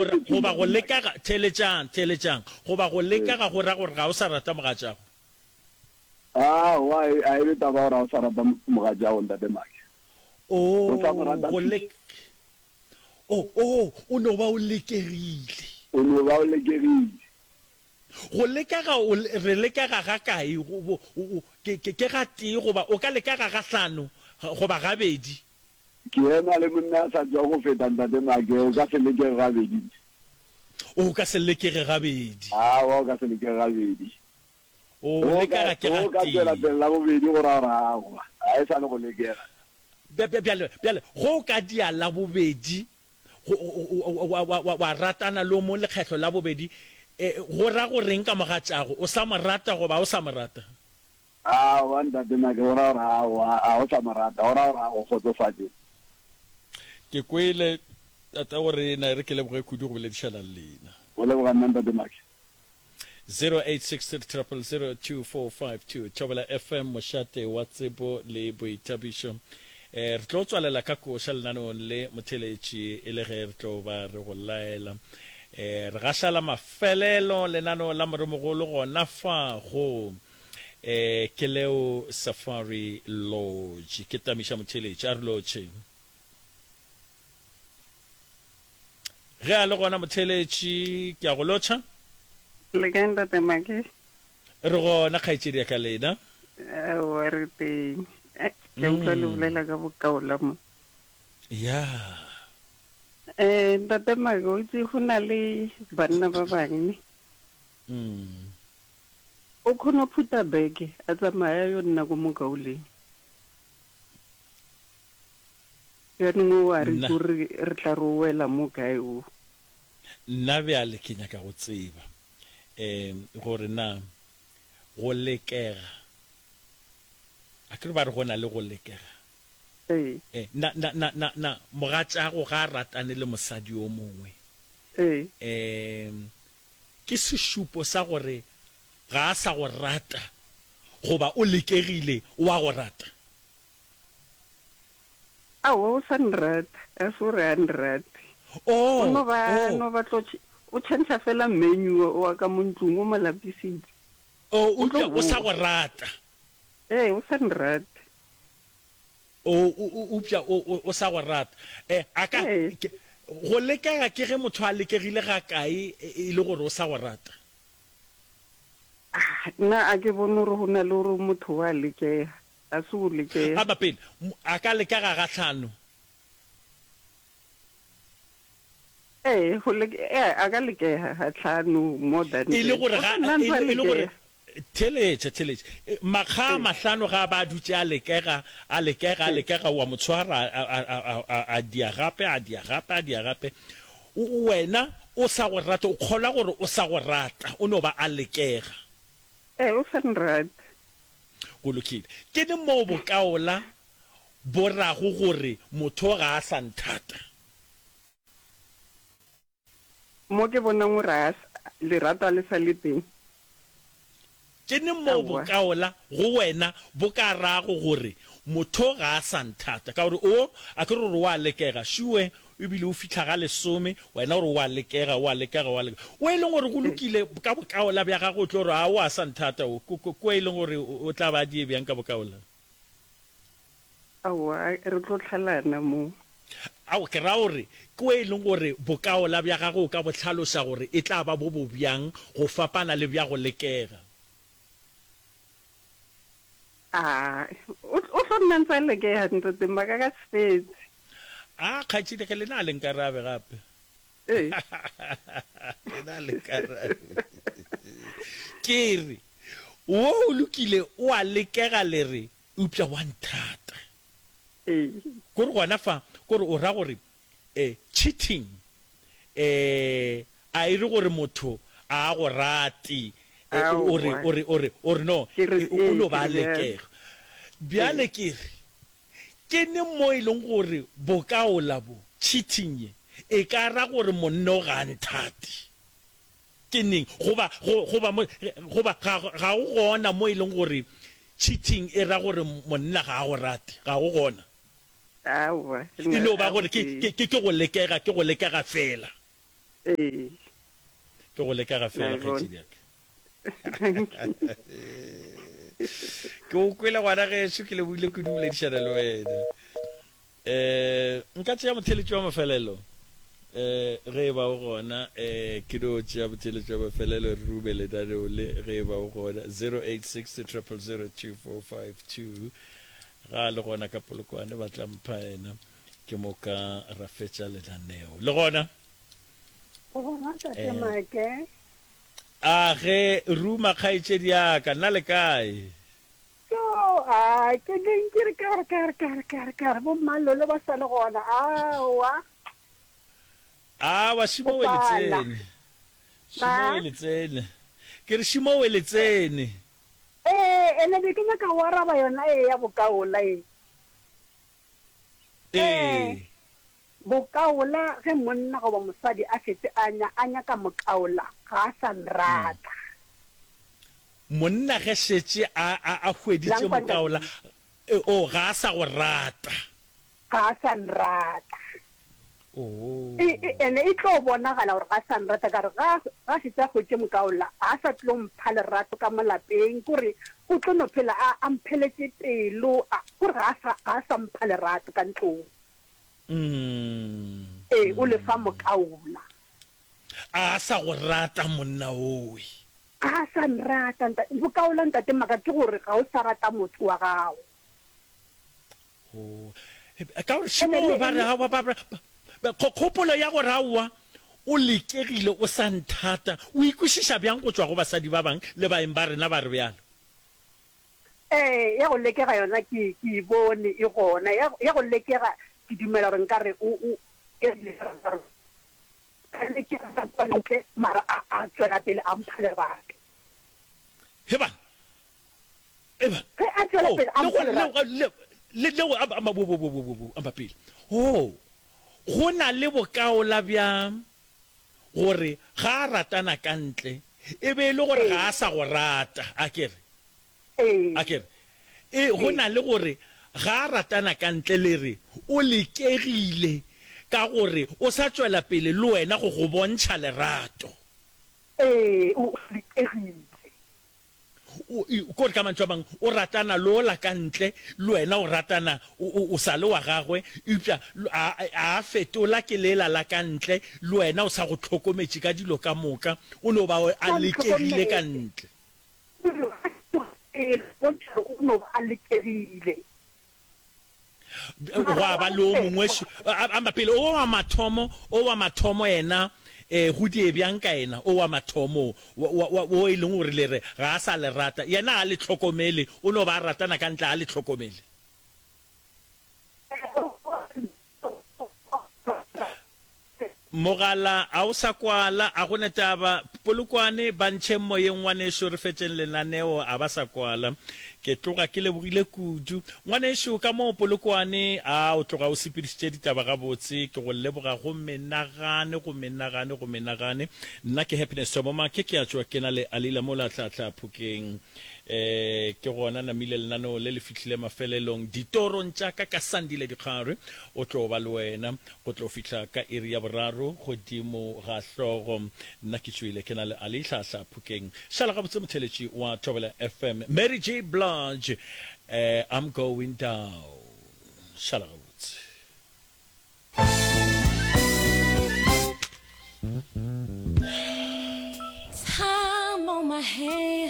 Goba go lekega, theeletšang, theeletšang, goba go lekega go ra gore ga o sa rata mogatšago. Aowa, a e be taba gore ga o sa rata mogatšago, Ntate Make. Oh, O sa mo rata go lek, oh, oh, o no ba o lekegile. O no ba o lekegile. Go lekega, o, re lekega ga kae? Go, go, o, ke, ke, ke ga tee goba o ka lekega ga hlano goba gabedi. Ke ema le monna a sa tšwa go feta Ntate Make, o ka se lekege gabedi. O ka se lekege gabedi. Aowa, o ka se lekege gabedi. O lekega ke O ka gatee. tšwela pele la bobedi go ra gore aowa, ga e sa le go lekega. Bjale, bjale, ge o ka dia la bobedi, go, wa, wa, wa, wa ratana le o mong lekgetlo la bobedi, e, go ra go reng ka mogatšago? O sa mo rata goba o sa mo rata? Aowa ntate Make, go ra gore aowa, a o sa mo rata, go ra gore a go kgotsofatše. Ke kwele, tatago rena, e re ke leboge kudu go boledišana le lena. Go leboga nna ntate Make. 0863 000 2452 Thobela FM, mošate wa tsebo le boithabišo. Eh, re tlo tswalela ka koša lenaneong le motheletši e le ge re tlo ba re go laela. Eh, re gaša la mafelelo lenaneo la Moremogolo gona fa go E, ke leo Safari Lodge. Ke tamiša motheeletši. A re lotšhe. Ge a le gona motheeletši, ke a go lotšha. Le kae Ntate Maki? Re gona kgaetšedi ya ka lena. Aowa re teng. Eh, ke utlwa le bolela ka bokaola mo. Ya. Eh, Ntate Maki, o itse go na le banna ba bangwe. Mm. O kgona go phutha beke a tsamaya a yo nna ko mokauleng. Bjanong o a re Nna. ko re re tla re o wela mo kae o. Nna bjale ke nyaka go tseba um gore na go lekega, akere ba re go na le go lekega. Ee. Eh, na, na, na, na, na mogatšago ga a ratane le mosadi yo mongwe? Ee. Um Ke sešupo sa gore ga a sa go rata goba o lekegile o a go rata? Aowa, o sa nrata. Ga se gore ga nrate. Oh, O no ba, oh. no ba tlo, o tšhentšha fela menu wa ka mo ntlong, o mo lapisitse. Oh, O tlo eupša o sa bowa. go rata. Ee, o sa nrate. O, o, o, eupša o, o, o sa go rata. E, a ka, Ee. ke, go lekega ke ge motho a lekegile gakae e, e le gore o sa go rata? Ah, nna a ke bone gore go na le gore motho wa lekega. A se go lekega. Aba pele, a ka lekega gahlano. Ee, go leke, ee, a ka lekega gahlano, more than E le that. gore O ga, tla nna e ntse a le, e le gore, lekega. theeletša, theeletša. E, Makga a Ee. mahlano ga a ba a dutše a lekega, a lekega, a Ee. lekega, o a mo tshwara, a, a, a, a, a, a dia gape, a dia gape, a dia gape. O, o, wena o sa go rata, o kgolwa gore o sa go rata, o no ba a lekega. Ee, o sa nrate. Go lokile. Ke neng moo bokaola bo rago gore motho ga a sa nthata? Mo ke bonang gore a lerato a le sa le teng. Ke neng moo Aowa. bokaola go wena bo ka rago gore motho ga a sa nthata? Ka gore o, a ke re o re o a lekega, šue, ebile o fihla ga lesome, wena o re o a lekega, o a lekega, o a lekega. O e leng gore go lokile, ka bokaola bja gagwe o tlo re, a o a sa nthata o, ko, ko, ko e leng gore o tla ba a die bjang ka bokaola? Aowa, re tlo hlalana mo. Ao, ke ra gore, ke o e leng gore bokaola bja gagwe o ka bo hlaloša gore e tla ba bo bo bjang go fapana le bja go lekega. A, o, o tlo nna ntse a lekega, Ntate Maka, ka se fetse. A, kgaetšedi, ge lena a le nkarabe gape. Ee. Lena a le nkarabe. Ke re, wo o lokile, o a lekega le re, Eupša wa nthata. Ee. Kore gona fa, kore o ra gore eh, cheating eh, a e re gore motho a a go rate, eh, o re, Aowa. o re, o re, o re no, Ke re, eh, o ee, no ke ba a re bjalo. lekega. Bjale Ee. ke re, ke neng mo e leng gore bokaola bo, cheating ye, e ka ra gore monna o ga a nthate? Ke neng, goba, go, goba mo, goba ga, ga go gona mo e leng gore cheating e ra gore monna ga a go rate? Ga go gona. Aowa, E no ba a gore go ke, tee. ke, ke, ke go lekega, ke go lekega feela. Ee. Ke go leka ga fela kgaetšedi ya ka. Ke o kwele ngwana gešo, ke lebogile kudu boledišana le wena. Eh, nka tšea motheletši wa mafelelo eh ge e ba o gona eh ke no tšea motheletši wa mafelelo re rume lenaneo le ge e ba o gona 086 000 2452 ga le gona ka polokwane ba tla mpha ena ke moka ra fetša lenaneo le gona Gona tate eh Make. A ge ruma kgaetšedi ya ka, nna le kae? So, a ke neng ke re ka re ka re ka re ka re ka re bo mmalolo ba sa le gona. Aowa. Awa, šimo we le tsene. Šimo we le tsene. Ke re šimo we le tsene. Ee, ene be ke nyaka go araba yona e ya bokaola e. Ee. Bokaola, ge monna goba mosadi a šetše a nya, a nyaka mokaola, ga a sa nrata. Monna ge šetše a, a, a hweditše Lankwa mokaola, ntate. e, oh, ga a sa go rata. Ga a sa nrata. Oh. E, e, ene e tlo bonagala gore ga a sa nrata, ka gore ga, ga a šetše a hweditše mokaola, ga a sa tlo mpha lerato ka mo lapeng, kore o tlo no phela a, a mpheletše pelo, a, kore ga a sa, ga a sa mpha lerato ka ntlong. Ee, o lefa mokaola. A sa go rata monna owe. A sa nrata ntate. Bokaola ntate Maka ke gore ga o sa rata motho wa gago. Oh. Ka gore šimo ba re aowa ba ba kgopolo ya gore aowa o lekegile o sa nthata o ikwešiša bjang go tšwa go basadi ba bang le baeng ba rena ba re bjalo. Ee, ya go lekega yona ke, ke e bone e gona. Ya, ya go lekega, ke dumela gore nka re o, o, e rile a lekega ka kua ntle, mara a, a tšwela pele a mpha lerato. He bana, he bana. Ge a tšwela Oh, pele a le mpha go, le, lerato. le, le, le go, amba, amba, bo, bo, bo, bo, bo, bo, amba pele. Oh, go na le bokaola bja gore ga a ratana ka ntle, e be e le gore ga a sa go rata, a ke re? A ke re? E, go na le gore ga a ratana ka ntle le re o lekegile ka gore o sa tšwela pele le wena go go bontšha lerato. Ee, o lekegile. O, e, kore ka mantšu a mangwe, o ratana le ola ka ntle, le wena o ratana, o, o, o sa le wa gagwe, eupša a, a fetola ke lela la ka ntle, le wena o sa go hlokometše ka dilo ka moka, o no ba a lekegile ka ntle. Ee, bontšha gore o no ba a lekegile. Gwa ba le o mongwe, amba pele, o wa mathomo, o wa mathomo yena, eh, go die bjang ka yena, o wa mathomo, wa, wa, wa, wo e leng gore le re ga a sa le rata, yena ga a le hlokomele, o no ba a ratana ka ntle, ga a le hlokomele. Mogala a o sa kwala, a go ne taba. Polokwane, ba ntšheng moyeng ngwanešu, re fetšeng lenaneo, a ba sa kwala. Ke tloga ke lebogile kudu. Ngwanešu, ka moo Polokwane, a o tloga o sepedišitše ditaba gabotse, ke go leboga go menagane, go menagane, go menagane. Nna ke Happiness Thomo Make, ke a tšwa ke na le Alila mola Tlhatlha Phokeng. E, ke gona namile lenaneo le le fihlile mafelelong ditorong tša ka ka Sandile Dikgare. O tlo ba le wena go tlo fihla ka iri ya boraro godimo ga hlogo. Nna ke tšwile ke na le Ali Hlahla Phokeng. Šala gabotse motheletši wa Thobela FM. Mary J Blige, eh, I'm going down. Šala gabotse. Time on my hand.